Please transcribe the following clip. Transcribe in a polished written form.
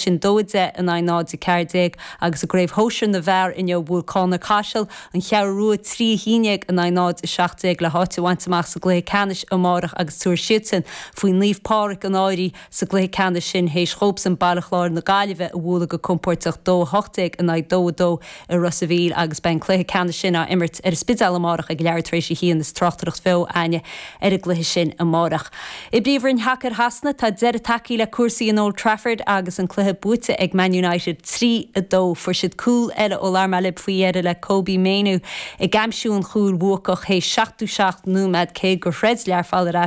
sin 2-10 in aghaidh 0-14 agus i gCraobh Shóisir na bhFear inniu bhuail Conor Caiseal, An Cheathrú Rua 3-11 in aghaidh 0-17 le háit a bhaint amach sa gcluiche ceannais amárach agus tabharfaidh siadsan faoi Naomh Pádraig an Fhairche sa gcluiche ceannais sin théis dhóibhsan Baile Chláir na Gaillimhe a bhualadh go compóirteach 2-18 in aghaidh 2-2 i Ros a' Mhíl agus beidh an cluiche ceannais sin á imirt ar an Spidéal amárach ag leathuair tar éis a haon is tráchtaireacht bheo a'inne ar an gcluiche sin amárach. I bPríomhroinn Shacair Shasana, tá deireadh tagtha le cúrsaí in Old Trafford agus an cluiche buaite ag Man United 3, 2. Fuair siad cúl eile ó lár mailib faoi dheireadh le Kobbie Mainoo ag aimsiú an chúil bhuacach théis 77 nóiméad cé gur throid Learpholl ar ais.